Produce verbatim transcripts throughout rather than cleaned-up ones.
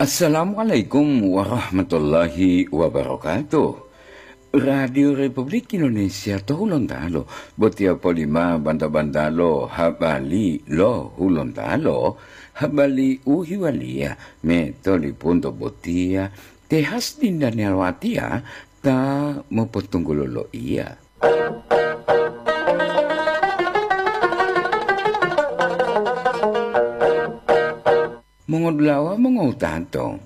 Assalamualaikum warahmatullahi wabarakatuh. Radio Republik Indonesia to Hulontalo, botiya polima banta-bantalo habali lo Hulontalo, habali u hiwaliya me tolipunto botiya, te Hasdin Daniel Watiya ta mopotunggulo loiya. Mongodulawa mongowutato,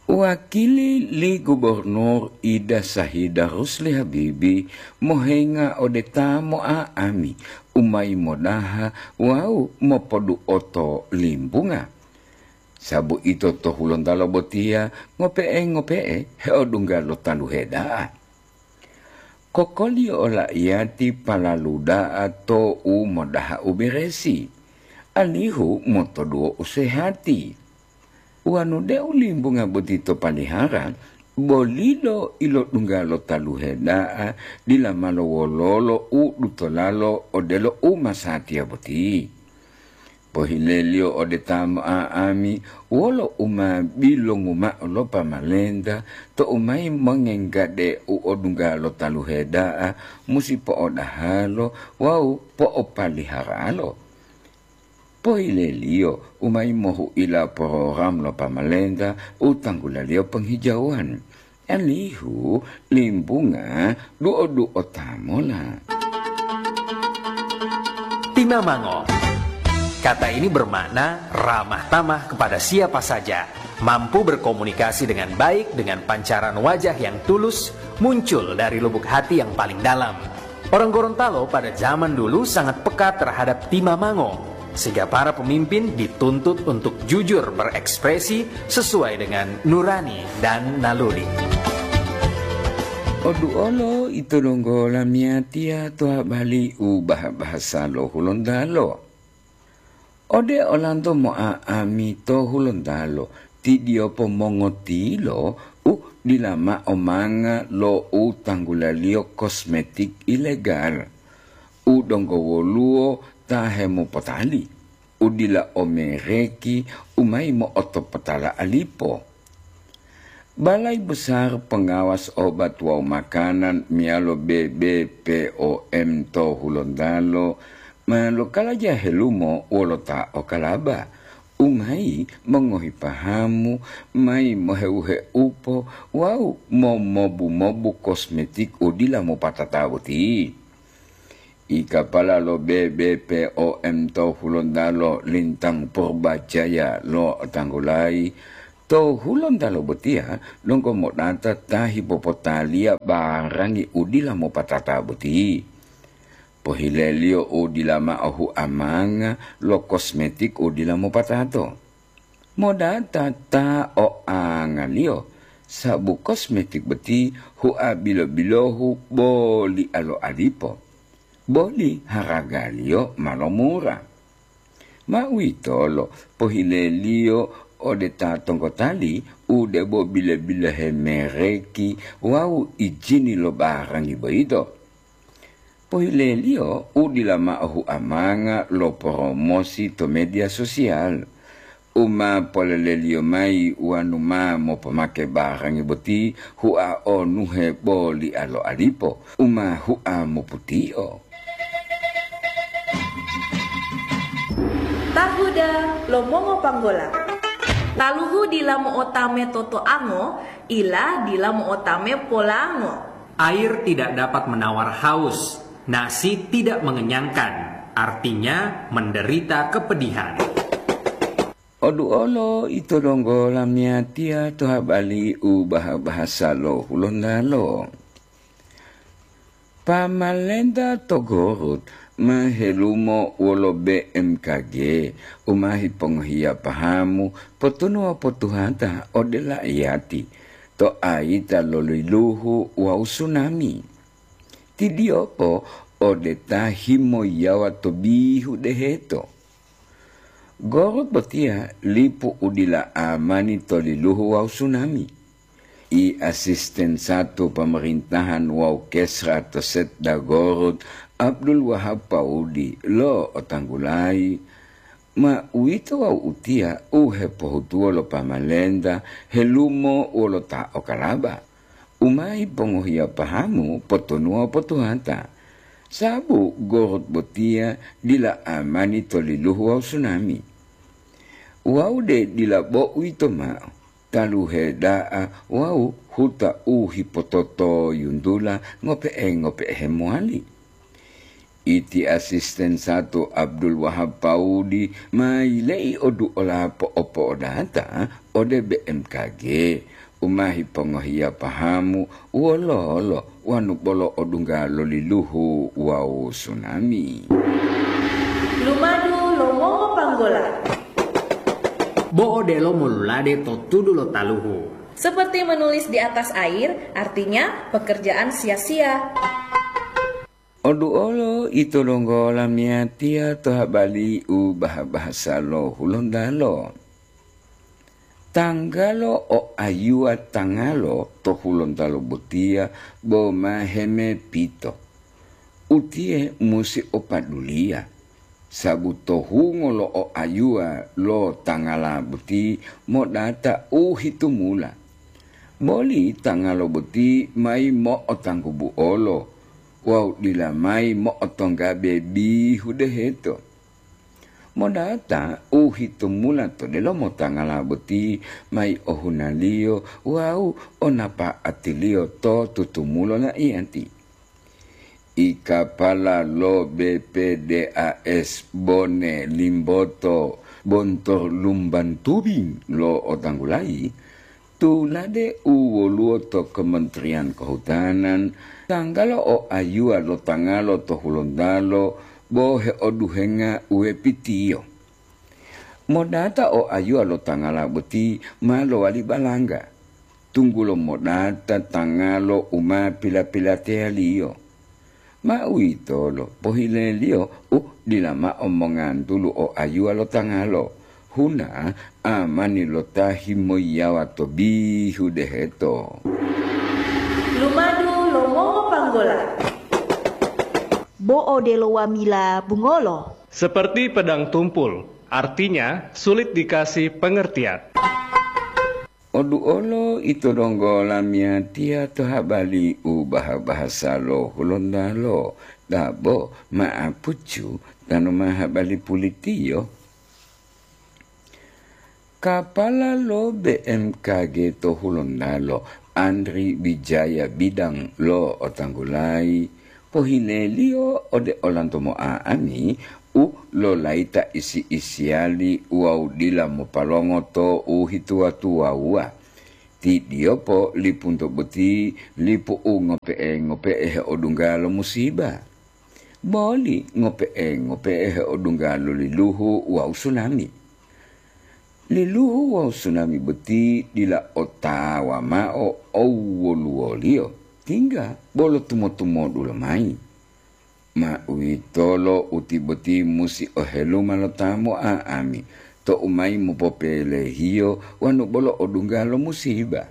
wakili li Gubernur Ida Sahida Rusli Habibi mohenga ode ta mo'a'ami u mayi modaha wawu mopoduoto limbunga. Sabu ito to Hulontalo botiya ngope'e-ngope'e heodungga lo taluhe da'a. Kokoliyo ola iyati palalu da'a to u modaha u beresi, alihu motoduwo u sehati. Wanu deu limbunga boti to palihara, bolilo ilodungga lo taluhe da'a, dila malo wololo u dutolalo odelo u masatiya boti. Pohileliyo ode ta mo'a'ami wolo u ma bilongu ma'o lo pamalenta tou mayi mongenggade u odungga lo taluhe da'a musi po'odahalo wawu po'opaliharalo. Pohileliyo u mayi mohu'ila porogram lo pamalenta u tanggulaliyo penghijauwan. Alihu limbunga duo-duo tamola. Timamango. Kata ini bermakna ramah tamah kepada siapa saja, mampu berkomunikasi dengan baik dengan pancaran wajah yang tulus muncul dari lubuk hati yang paling dalam. Orang Gorontalo pada zaman dulu sangat peka terhadap timamango, sehingga para pemimpin dituntut untuk jujur berekspresi sesuai dengan nurani dan naluri. Oduolo ito donggo lamiyatiya to habali u bahasa-bahasa lo Hulontalo. Ode olanto mo'a'ami to Hulontalo, tidiyopo mongotilo u dila ma'o manga lo u tanggulaliyo kosmetik ilegal, u donggo woluwo ta hemopotali, u dila o mereki, u mayi mo'otopotala alipo. Balai Besar Pengawas Obat wawu Makanan meyalo B B P O M to Hulontalo ma lokalaja helumo wolo ta o kalaba, u mayi mongohi pahamu, mayi moheuheupo wawu momobu-mobu kosmetik u dila mopatata boti. I kapala lo B B P O M to Hulontalo Lintang Purbajaya lo'otanggulayi, to Hulontalo botiya donggo modata ta hipopotaliya barangi u dila mopatata boti. Pohileliyo u dila ma'o huamanga lo kosmetik u dila mopatato. Modata ta o angaliyo, sabu kosmetik boti hua bilo-bilohu boli alo alipo, boli haragaliyo ma lomura. Ma uwitolo pohileliyo ode ta tongkotali u debo bile-bilohe mereki wawu ijini lo barangi boyito. Pohileliyo u dila ma'o huamanga lo poromosi to media sosial, u ma poleleliyo mayi wanu ma mopomake barangi boti hua onuhe boli alo alipo, u ma hua moputio. Tahuda lo mongopanggola. Taluhu dila mo'otame totoango, ila dila mo'otame polango. Air tidak dapat menawar haus, nasi tidak mengenyangkan, artinya menderita kepedihan. Oduolo ito donggo lamiyatiya to habali u baha-bahasa lo Hulontalo. Pamalenta to Gorut ma helumo wolo B M K G u ma hipongohiya pahamu potunuwa-potuhata ode la'iyati to ayita lo liluhu wawu sunami. Tidiyopo ode ta himoyiyawa to bihu deheto. Gorut botiya lipu u dila amani to liluhu wawu sunami. I asisten satu pemerintahan wawu kesra to Setda Gorut, Abdul Wahab Paudi, lo'otanggulayi, Ma uwito wawu utiya u hepohutuwo lo pamalenta helumo wolo ta okalaba, u ma yipongohiya pahamu potonuwa potuhata, sabu gorut botiya dila amani to liluhu wawu sunami. Wawu de dila bo uwito mao, taluhe da'a wawu huta u hipototoyuntula ngope'e-ngope'e hemowali. Iti asisten sato Abdul Wahab Paudi ma yile'i oduola po'opo'odata ode B M K G, u ma hipongohiya pahamu wololo wanu bolo odungga lo liluhu wawu sunami. Lumadu lo mongopanggola. Bo odelo molulade to tudu lo taluhu. Seperti menulis di atas air, artinya pekerjaan sia-sia. Oduolo ito donggo lamiyatiya to habali u baha-bahasa lo Hulontalo. Tanggalo o ayuwa tangalo to Hulontalo botiya bo ma hemepito. Utiye musi o paduliya, sabu to hungo lo o ayuwa lo tangala boti modata u hitumula. Boli tangalo boti mayi mo'otanggubuolo wawu dila mayi mo'otonggabe bihu deheto. Modata u hitumula to delomo tangala boti mayi ohunaliyo wawu o napa'atiliyo to tutumulo la'iyati. I kapala lo B P D A S Bone Limboto Bontor Lumban Tubing lo otanggulayi, tulade u woluwo to Kementerian Kehutanan, tanggalo o ayuwa lo tangalo to Hulontalo bo heoduhenga uwepitiyo. Modata o ayuwa lo tangala boti ma lowali balangga, tunggulo modata tangalo u ma pila-pilateyaliyo. Ma uwitolo pohileliyo u dila mao mongantulu o ayuwa lo tangalo, huna amani lo ta himoyiyawa to bihu deheto. Lumadu lo mongopanggola. Bo odelo wamila bungolo. Seperti pedang tumpul, artinya sulit dikasih pengertian. Oduolo ito donggo lamiyatiya to habali u baha-bahasa lo Hulontalo, dabo ma'apucu tanu ma habali pulitiyo. Kapala lo B M K G to Hulontalo, Andri Wijaya Bidang lo otanggulayi, pohileliyo ode olanto mo'a'ami u lolayita isi-isiyali wawu dila mopalongo to u hituwa-tuwawuwa. Ti diyopo lipunto boti lipu u ngope'e-ngope'e heodungga lo musiba. Boli ngope'e-ngope'e heodungga lo liluhu wawu sunami. Liluhu wawu sunami boti dila otawa mao owoluwoliyo, tingga bolo tumo-tumodu lomayi. Ma uwitolo uti boti musi oheluma lo ta mo'a'ami, to'u mayi mopopelehiyo wanu bolo odungga lo musiba.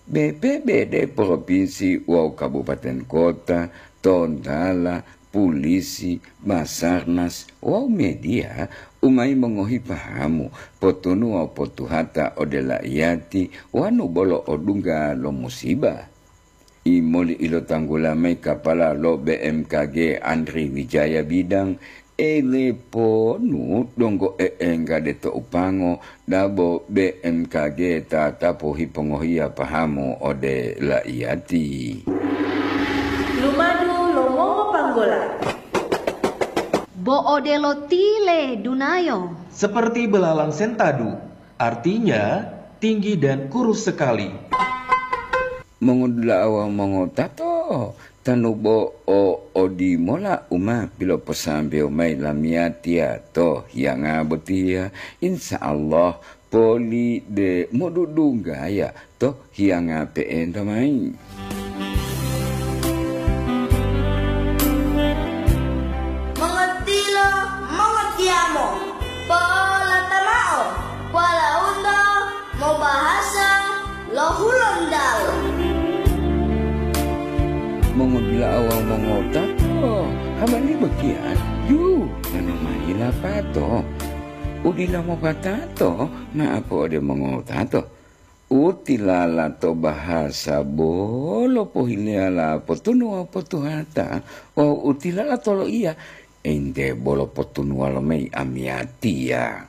B P B D provinsi wawu kabupaten kota, tontala, pulisi, Basarnas, wawu media u mayi mongohi pahamu, potunu wawu potuhata ode la'iyati wanu bolo odungga lo musiba. Imoli ilotanggula mayi kapala lo B M K G Andri Wijaya Bidang, eleponu donggo e'enggade to upango, dabo B M K G tatapu hipongohiya pahamu ode la'iyati. Lumadu lo mongopanggola. Bo odelo tile dunayo. Seperti belalang sentadu, artinya tinggi dan kurus sekali. Mongodula'a wawu mongotato, tanu bo o odimola u ma piloposambewo mayi lamiyatiya to hiyanga botiya, insya Allah poli de modudunggaya to hiyanga pe'enta mayi. Mongotilo, mongotiyamo, polata mao, walaundo mobahasa lo Hulontalo. Mongodula'a wawu mongotato, habari botiya Yu, manu mayi lapato. Udila mopatato, ma'apo ode mongowutato. Utilala to bahasa bolo pohileyala potunuwa potuhata, wawu utilala to loiya, ente bolo potunuwa lomayi amiyatiya.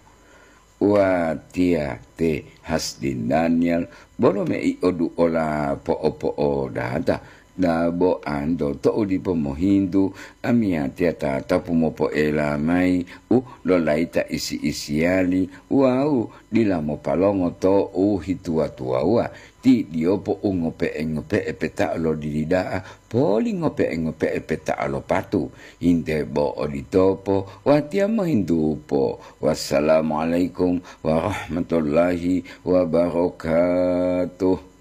Watiya te Hasdin Daniel, bolo mei oduola po'opo'odata, dabo anto to'u dipo mohintu, amiyatiya tatapu mopoela mayi u lolayita isi-isiyali wawu dila mopalongo to'u hituwa-tuwawuwa, ti diyopo u ngope'e-ngope'e peta'o lo dili da'a, poli ngope'e-ngope'e peta'o lo patu. Hinte bo oditopo, watiya mohintupo. Wassalamualaikum warahmatullahi wabarakatuh.